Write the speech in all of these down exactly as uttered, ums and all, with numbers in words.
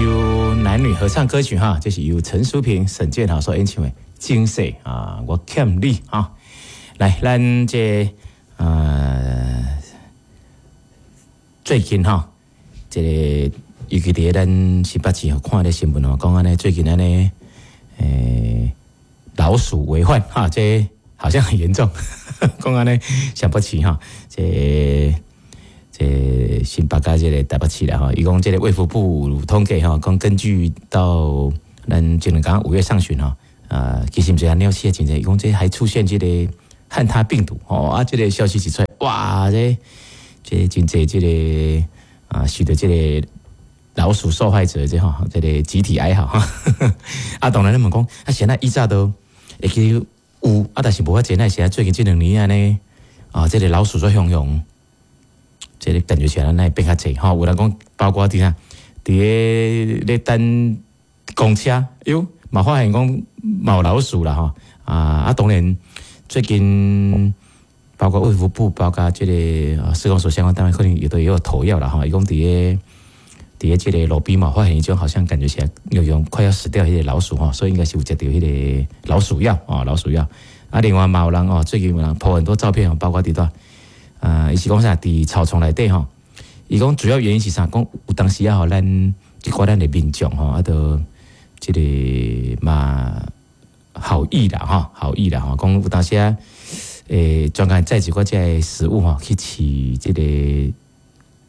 首男女合唱歌曲哈，這是由陳淑萍、沈建豪所演唱的《前世啊，我欠你》哈。來，咱這呃最近哈，這個尤其佇咱新北市吼，看咧新聞吼，講按呢最近按呢，欸，老鼠為患哈，這好像很嚴重，講按呢新北市哈，這這新北佮這個台北市啦吼，伊講這個衛福部統計吼，講根據到咱前兩工五月上旬吼，啊，其實毋是啊，鳥鼠的真濟，伊講這還出現這個漢他病毒吼，啊，這個消息一出來，哇，這這真濟這個啊，受著這個老鼠受害者這吼，這個集體哀嚎哈。啊，當然咱問講，啊，現在以早都會記有，啊，但是無遐濟，那是最近這兩年按呢，啊，這個老鼠做洶湧。這個感覺起來，那會變較濟吼。有人講，包括佇啥，佇咧咧等公車，喲，嘛發現講嘛有老鼠啦吼。啊啊，當然最近包括衛福部，包括這個市公所相關單位，可能有的也有投藥啦吼。伊講佇咧佇咧這個路邊嘛，發現一種好像感覺起來有種快要死掉彼個老鼠吼，所以應該是有食著彼個老鼠藥啊，老鼠藥。啊，另外嘛有人哦，最近有人 po 很多照片哦，包括佇佗。啊，伊是講啥？佇草叢內底吼，伊講主要原因是啥？講有當時啊，吼，咱一寡咱的民眾吼，啊，都這個嘛好意啦，吼，好意啦，吼，講有當時啊，欸，專工載一寡這个食物吼，去飼這個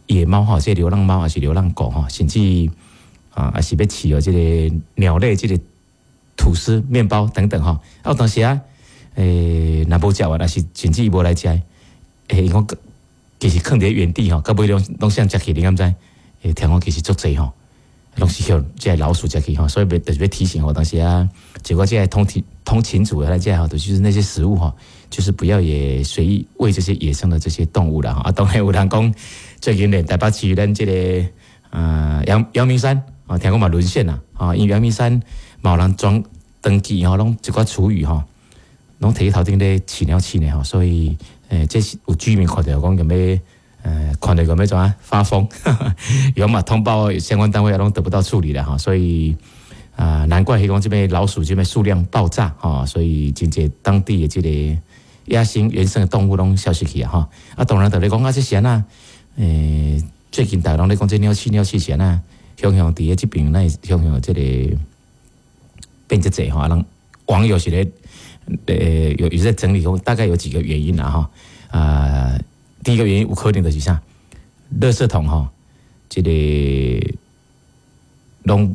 野貓吼，這個流浪貓還是流浪狗吼，甚至啊，還是欲飼哦，這個鳥類，這個吐司、麵包等等吼。啊，有當時啊，欸，若無食完，還是甚至伊無來食。欸，伊講其實囥佇原地吼，到尾攏攏啥食去，你敢知？欸，聽講其實足濟吼，攏是予這个老鼠食去吼，所以欲就是欲提醒吼，當時啊，結果這个通勤通勤族來這吼，就是那些食物吼，就是不要也隨意餵這些野生的這些動物啦。啊，當然有人講，最近連台北市咱這個呃陽陽明山啊，聽講嘛淪陷啦啊，因為陽明山嘛有人裝登記吼，攏一寡廚餘吼，攏提去頭頂咧飼鳥鼠呢吼，所以。欸，這是有居民看著講欲呃，看著欲怎啊發瘋，有嘛通報相關單位攏得不到處理了哈，所以啊，難怪彼講這邊老鼠這邊數量爆炸哈，所以真濟當地的這個野生原生的動物攏消失去啊哈。啊，當然就咧講啊，這是按怎？欸，最近大家攏咧講這鳥鼠鳥鼠是按怎？雄雄佇咧這邊，那雄雄這個變這濟吼，人網友是咧。呃，有有在整理，大概有幾個原因啦哈。啊，第一個原因有可能就是啥，垃圾桶吼，這個攏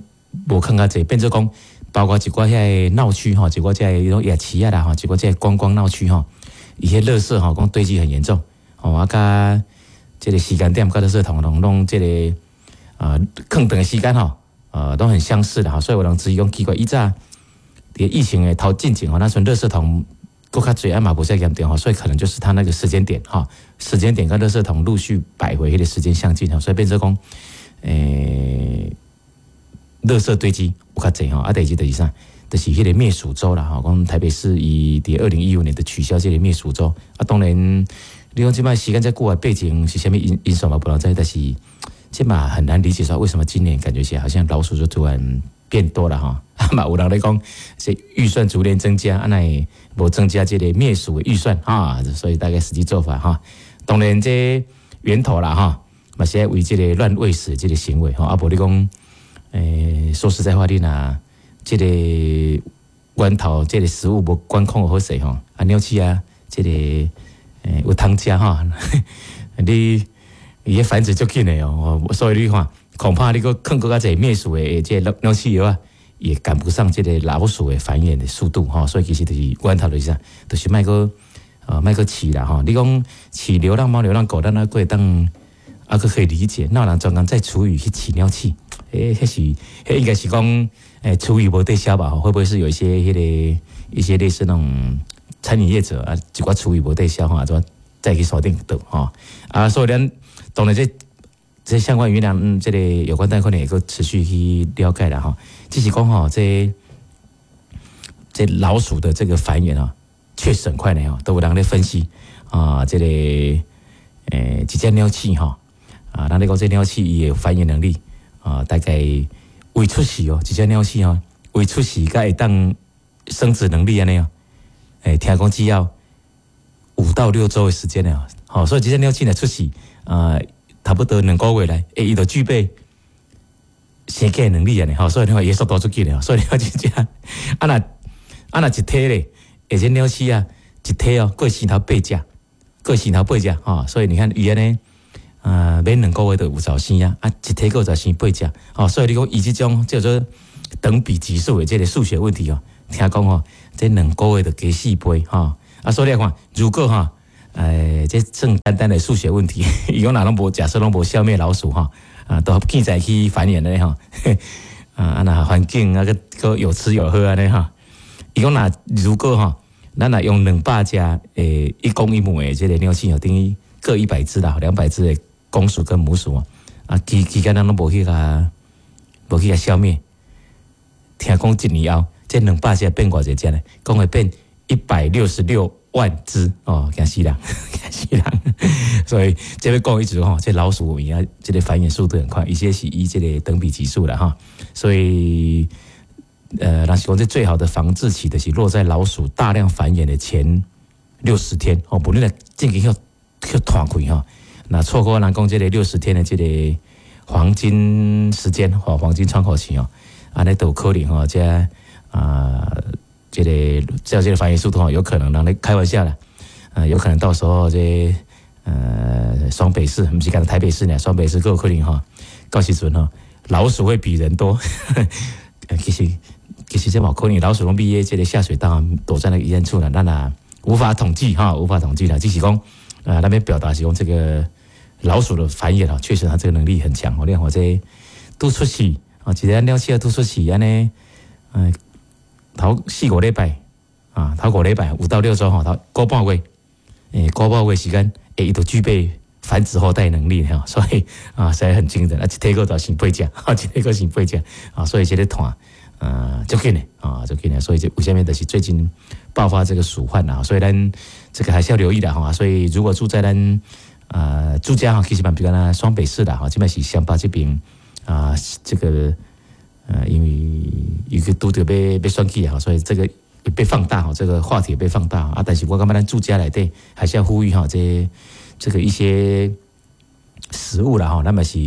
無囥較濟，變做講，包括一寡遐個鬧區吼，一寡這个種夜市仔啦吼，一寡這个觀光鬧區吼，伊彼垃圾吼，講堆積很嚴重，吼啊，佮這個時間點佮垃圾桶攏攏這個啊，空檔的時間吼，呃，都很相似的哈，所以有人質疑講奇怪，以早佇疫情的頭進前吼，那陣垃圾桶閣較濟，啊嘛無遮嚴重吼，所以可能就是他那個時間點哈，時間點佮垃圾桶陸續擺回彼個時間相近吼，所以變做講，欸，垃圾堆積有較濟吼，啊，第二就是啥，就是彼個滅鼠週啦吼，講台北市伊佇二零一五年的取消這個滅鼠週，啊，當然你講這擺時間遮久的背景是啥物因因素嘛，無人知，但是這嘛很難理解說為什麼今年感覺起來好像老鼠就突然變多了吼。啊嘛有人咧講是預算逐年增加，啊哪會無增加這個滅鼠的預算哈，所以大概實際做法哈，當然這源頭啦哈，嘛是愛為這個亂餵食這個行為吼，啊無你講，欸，說實在話，你若這個源頭這個食物無管控好勢吼，啊鳥鼠啊，這個欸有通食吼，你伊繁殖足緊的哦，所以你看，恐怕你閣囥閣較濟滅鼠的這個鳥鼠藥啊，也趕不上這個老鼠的繁衍的速度吼，所以其實就是源頭就是啥，就是莫閣呃莫閣飼啦吼。你講飼流浪貓、流浪狗，咱猶閣會當猶閣可以理解，哪有人專工載廚餘去飼鳥鼠？欸，彼是彼應該是講欸廚餘無得消吧？會不會是有一些彼個一些類似那種餐飲業者啊，一寡廚餘無得消吼，怎載去山頂倒吼？啊，所以咱當然這這相關語量，嗯，這個有關單位可能會閣持續去了解啦吼。只是講吼，這這老鼠的這個繁衍啊，確實很快呢吼，都有人咧分析啊，這個欸，一隻鳥鼠吼，啊，咱咧講這鳥鼠伊的繁衍能力啊，大概未出世哦，一隻鳥鼠哦，未出世才會當生殖能力按呢哦，欸，聽講只要五到六週的時間了，好，所以這隻鳥鼠若出世啊，差不多兩個月來，欸，伊就具備生囝能力按呢，吼，所以你看伊速度足緊的，所以你看這隻，啊若啊若一胎咧，欸，這鳥鼠啊，一胎哦，過生頭八隻，過生頭八隻，吼，所以你看伊按呢，啊，免兩個月就有就生啊，啊，一胎閣就生八隻，吼，所以你講伊這種叫做等比級數的這個數學問題哦，聽講吼，這兩個月就加四倍，吼，啊，所以你看，如果吼，欸，這算簡單的數學問題，伊講若攏無假設攏無消滅老鼠吼，啊，都健在去繁衍咧吼，啊，啊若環境啊，閣閣有吃有喝按呢吼，伊講若如果吼，咱若用兩百隻欸一公一母的這個鳥鼠哦，等於各一百隻啦，兩百隻的公鼠跟母鼠啊，啊期期間咱攏無去共無去共消滅，聽講一年後，這兩百隻變偌濟隻呢？講會變一百六十六萬隻哦，驚死人，驚死人！所以這欲講意思吼，這老鼠伊啊，這個繁衍速度很快，伊這是以這個等比級數啦哈，所以呃，若是講這最好的防治期就是落在老鼠大量繁衍的前六十天哦，無你若進前予予拖開吼，若錯過人講這個六十天的這個黃金時間吼，黃金窗口期哦，按呢都有可能吼，這啊。這個照這個繁衍速度吼，有可能人咧開玩笑啦，啊，有可能到時候這呃雙北市，毋是干焦台北市呢，雙北市閣有可能吼，到時陣吼，老鼠會比人多。其實其實這嘛有可能，老鼠攏佇這個下水道躲在那個陰處啦，咱也無法統計哈，無法統計啦，只是講啊，那邊表達是講這個老鼠的繁衍啊，確實它這個能力很強哦。你看這拄出世啊，一個鳥鼠拄出世按呢，嗯。頭四五禮拜啊，頭五禮拜五到六週吼，頭個半月，欸，個半月時間，欸，伊就具備繁殖後代能力哈，所以啊，實在很驚人啊，一胎閣就生八隻，一胎閣生八隻啊，所以這個湠啊，足緊的啊，足緊的，所以這為啥物就是最近爆發這個鼠患啊，所以咱這個還是要留意的哈。所以如果住在咱啊住家哈，其實嘛比如講雙北市啦哈，這擺是雙北這邊啊，這個。呃，因為有個拄著欲欲選舉啊，所以這個被放大哈，這個話題被放大啊。但是我感覺咱住家內底還是要呼籲哈，這這個一些食物啦哈，咱嘛是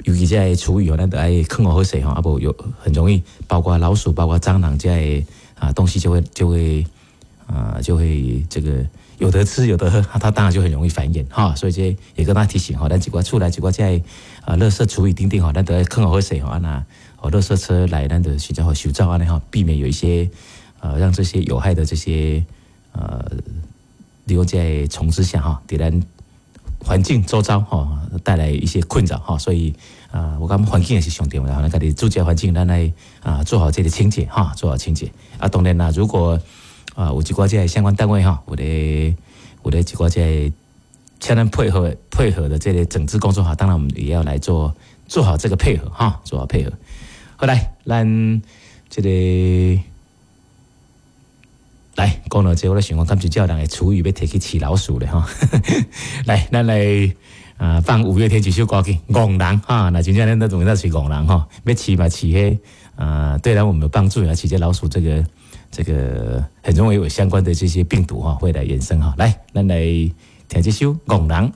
尤其這个廚餘哦，咱著愛囥予好勢吼，啊無有很容易，包括老鼠、包括蟑螂這些啊東西就會就會啊就會這個有得吃有得喝，它當然就很容易繁衍哈。所以這也跟大家提醒哈，咱一寡厝內一寡這个啊，垃圾廚餘等等吼，咱著愛囥予好勢吼，啊若哦，垃圾車來，咱就時陣予收走按呢吼，避免有一些呃，讓這些有害的這些呃，留在蟲之下哈，佇咱環境周遭哈帶來一些困擾哈，所以啊，我感覺環境也是上重要，咱家己住家環境，咱來啊做好這個清潔哈，做好清潔啊。當然啦，如果啊有一寡這个相關單位哈，有咧有咧一寡這个請咱配合配合的這個整治工作哈，當然我們也要來做做好這個配合哈，做好配合。好來，咱這個來講到這個，我咧想講，敢真正有人的廚餘欲提去飼老鼠咧哈。來，咱來啊放五月天這首歌曲《戇人》哈，若真正咱都總是戇人哈，欲飼嘛飼彼啊，對咱我們有幫助啊，飼這老鼠這個這個很容易有相關的這些病毒哈，會來衍生哈。來，咱來聽這首《戇人》。